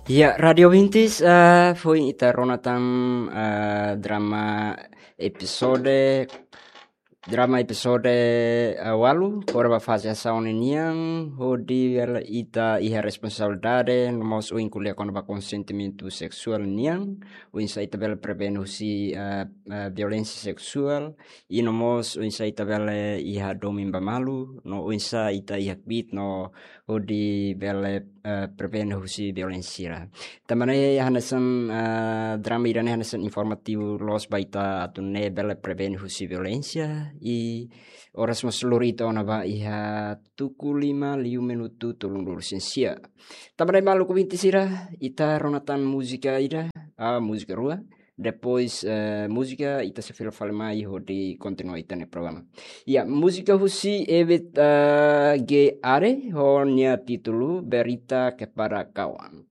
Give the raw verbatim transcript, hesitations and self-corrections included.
Ya, Radio Vintis, eh, foin ita rona tan, eh, drama episode, drama episode, eh, ualu, kona-ba faze asaun nian, hodi bele ita iha responsabilidade, no mós ohin ko'alia kona-ba konsentimentu seksuál nian, oinsá ita bele prevene husi, eh, eh, violénsia seksuál, i no mós oinsá ita bele iha domin ba malu, no oinsá ita iha kbiit, no hodi bele, eh, prevene husi violénsia. Tanba ne'e hanesan, eh, drama ida-ne'e hanesan informativu loos ba ita atu nune'e bele prevene husi violénsia, i oras mós lori ita ona ba iha tuku lima liu minutu tolunulu-resin-sia. Tanba ne'e maluk ouvinte sira, ita rona tan múzika ida, ah, múzika rua. Depois, eh, múzika ita sei fila fali mai hodi kontinua ita-nia programa. Ya, múzika husi Ebit, eh, G Are, ho nia títulu Berita Kepada Kawan.